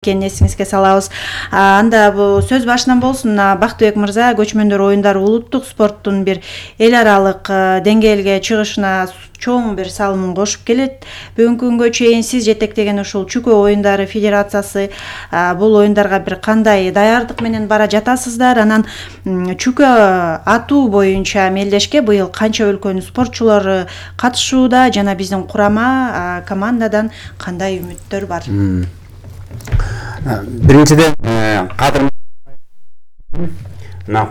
экенин эсиңизге салабыз. Анда бул сөз башынан болсун, Бактыбек мырза көчмөндөр оюндары улуттук спорттун бир эл аралык деңгээлге чыгышына чоң бир салымын кошуп келет. Бүгүнкү күнгө чейин сиз жетектеген ушул Чүкө оюндары федерациясы бул оюндарга бир кандай даярдык менен бара жатасыздар? Анан Чүкө атуу боюнча мелдешке быйыл канча өлкөнүн спортчулары катышууда жана биздин курама командадан кандай үмүттөр бар? Биринчиден кадыр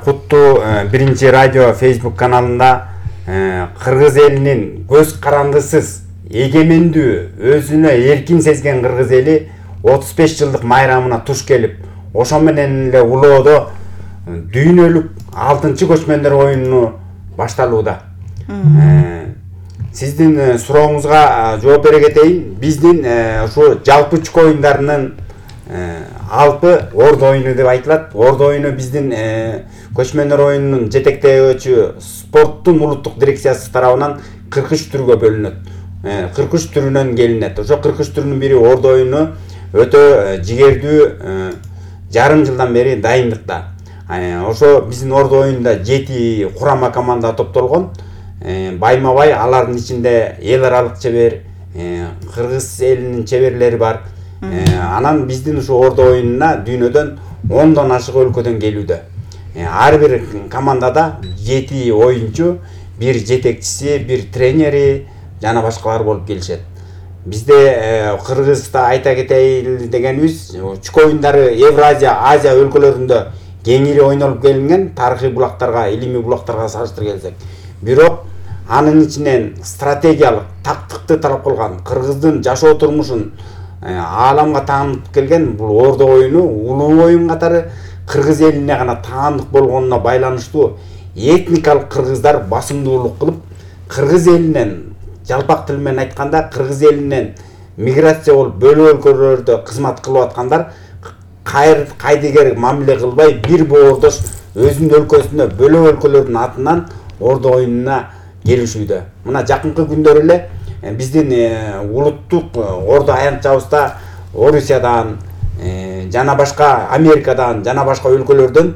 куттуу биринчи радио Facebook каналында кыргыз элинин көз карандысыз эгемендүү өзүнө эркин сезген кыргыз эли 35 жылдык майрамына туш келип, ошо менен эле улоодо дүйнөлүк 6-чы көчмөндөр оюну башталууда. Сиздин сурооңузга жооп бере кетейин. Биздин ушу жалпы Чүкө оюндарынын алпы ордо оюну деп айтылат. Ордо оюну биздин көчмөндөр оюнунун жетектөөчү спорттун улуттук дирекциясы тарабынан 43 түргө бөлүнөт. 43 түрүнөн келинет. Ошо 43 түрүнүн бири ордо оюну өтө жигердүү жарым жылдан бери дайындыкта. Ошо биздин ордо оюнунда 7 курама команда топтолгон. Байма-бай алардын ичинде эл аралык чебер, кыргыз элинин чеберлери бар. Анан биздин ушу ордо оюнуна дүйнөдөн 10дон ашык өлкөдөн келүүдө. Ар бир командада 7 оюнчу, бир жетекчиси, бир тренери жана башкалар болуп келишет. Бизде Кыргызда айта кетейин дегенибиз, Чүкө оюндары Евразия, Азия өлкөлөрүндө кеңири ойнолуп келинген, тарыхый булактарга, илимий булактарга салыштырып келсек. Бирок анын ичинен стратегиялык, тактыкты талап кылган, кыргыздын жашоо турмушун ааламга таанытып келген бул ордо оюну улуу оюн катары кыргыз элине гана таандык болгонуна байланыштуу этникалык кыргыздар басымдуулук кылып, кыргыз элинен жалпак тил менен айтканда кыргыз элинен миграция болуп бөлө өлкөлөрдө кызмат кылып аткандар кайдыгер мамиле кылбай бир боордош өзүнүн өлкөсүнө бөлө өлкөлөрдүн атынан ордо оюнуна келишүүдө. Мына жакынкы күндөр эле биздин улуттук ордо аянтчабызда Орусиядан жана башка Америкадан жана башка өлкөлөрдөн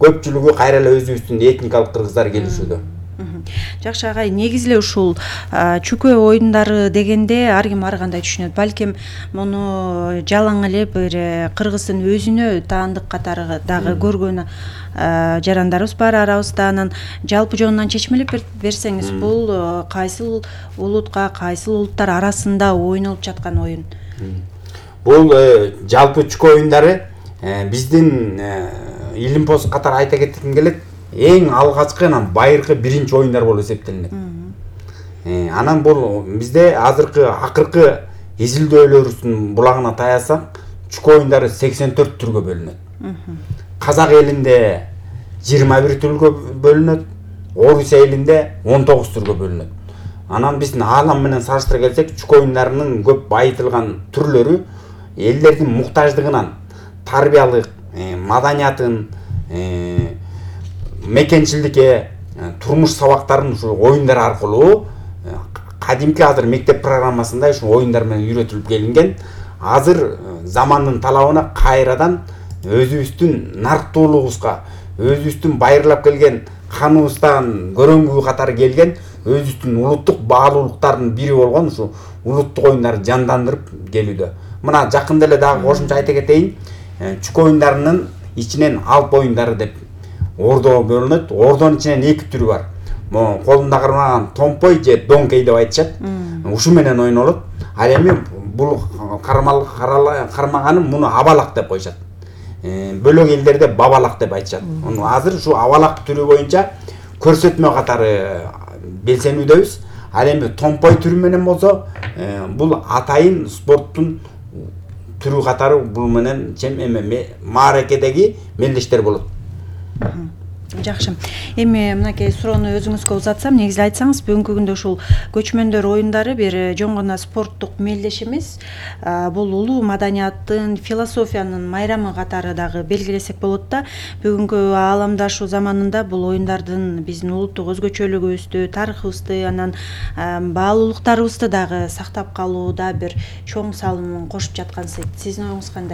көпчүлүгү кайра эле өзүбүздүн этникалык кыргыздар келишүүдө. Жакшы агай, негизи эле ушул Чүкө оюндары дегенде ар ким ар кандай түшүнөт. Балким муну жалаң эле бир кыргыздын өзүнө таандык катары дагы көргөн жарандарыбыз бар арабызда. Анан жалпы жонунан чечмелеп берсеңиз, бул кайсыл улутка, кайсыл улуттар арасында ойнолуп жаткан оюн? Бул жалпы Чүкө оюндары биздин Илимпоз катары айта кетким келет. Эң алгачкы анан байыркы биринчи оюндар болуп эсептелинет. Анан бул бизде акыркы изилдөөлөрүбүздүн булагына таянсак, Чүкө оюндары 84 түргө бөлүнөт. Казак элинде 21 түргө бөлүнөт, Орусия элинде 19 түргө бөлүнөт. Анан биздин аалам менен салыштыра келсек, Чүкө оюндарынын көп байытылган түрлөрү элдердин муктаждыгынан, тарбиялык, маданиятын, мекенчилдикке, турмуш сабактарын ушу оюндар аркылуу кадимки азыр мектеп программасында ушу оюндар менен үйрөтүлүп келинген. Азыр замандын талабына кайрадан өзүбүздүн нарктуулугубузга, өзүбүздүн байырлап келген каныбыздан көрөңгү катары келген өзүбүздүн улуттук баалуулуктардын бири болгон ушу улуттук оюндарды жандандырып келүүдө. Мына жакында эле дагы кошумча айта кетейин, Чүкө оюндарынын ичинен алп оюндары деп ордо бөлүнөт. Ордонун ичинен 2 түрү бар. Колунда кармаган томпой же донкей деп айтышат. Ушу менен ойнолот. Ал эми бул кармаганым муну абалак деп коюшат. Бөлөк элдерде бабалак деп айтышат. Азыр ушу абалак түрү боюнча көрсөтмө катары белсенүүдөбүз. Ал эми томпой түрү менен болсо, бул атайын спорттун түрү катары бул менен мааракедеги мелдештер болот. Жакшы. Эми мынакей суроону өзүңүзгө узатсам, негизи айтсаңыз, бүгүнкү күндө ушул көчмөндөр оюндары бир жөн гана спорттук мелдеш эмес, бул улуу маданияттын, философиянын майрамы катары дагы белгилесек болот да. Бүгүнкү ааламдашуу заманында бул оюндардын биздин улуттук өзгөчөлүгүбүздү, тарыхыбызды, анан баалуулуктарыбызды дагы сактап калууда бир чоң салымын кошуп жаткан. Сиздин оюңуз кандай?